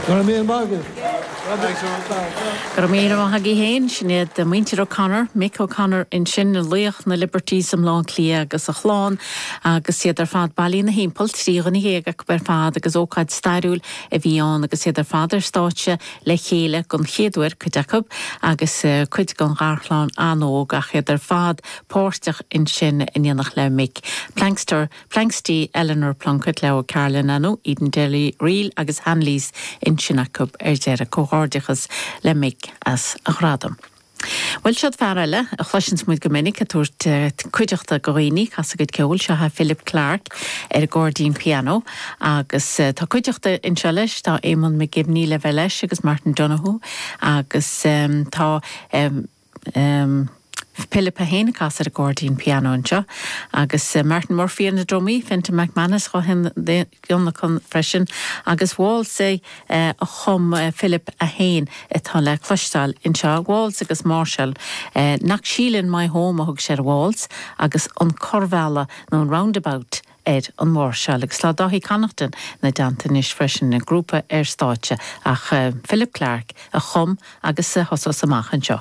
Go raibh míle maith agat. Go raibh míle maith agaibh féin. Sin iad muintir O'Connor, Mick O'Connor ansin, laoch na Liberties i mBleá Cliath agus a chlann agus iad ar fad bailithe ina thimpeall, 13 dhuine acu ar fad agus ócáid stairiúil a bhí ann agus iad ar fad ar stáitse le chéile don chéad uair, cuid acu, agus cuid den gharchlann an-óg ach iad ar fad páirteach ansin in éineacht le Mick. Plankster Planxty, Eleanor Plunkett, le O'Carolan Anu, Edenderry Reel agus Hanleys ansin acu ar deireadh. Comhghairdeachas le Mick as a ghradam. Bhuel, siod fear eile a chloiseanns muid go minic ag tabhairt cuideachta go dhaoine, ag casadh a gcuid ceoil, seo é Philip Clarke ar an gcairdín pianó agus tá cuideachta anseo leis, tá Eamonn McGivney le bheith leis agus Martin Donohoe agus tá. Pilib é féin ag casadh ar an gcairdín pianó anseo agus Martin Murphy ar na drumaí, Fintan McManus dhá thionlacan freisin agus waltz a chum Philip é féin atá le cloisteáil anseo, waltz agus máirseáil. Knocksheelin My Home a thug sé ar an waltz agus an Corrbhealach nó an Roundabout ar an mháirseáil agus tá Dáithí Connaughton ina dteannta anois freisin, an grúpa ar stáitse ach Philip Clarke a chum agus a thosós amach anseo.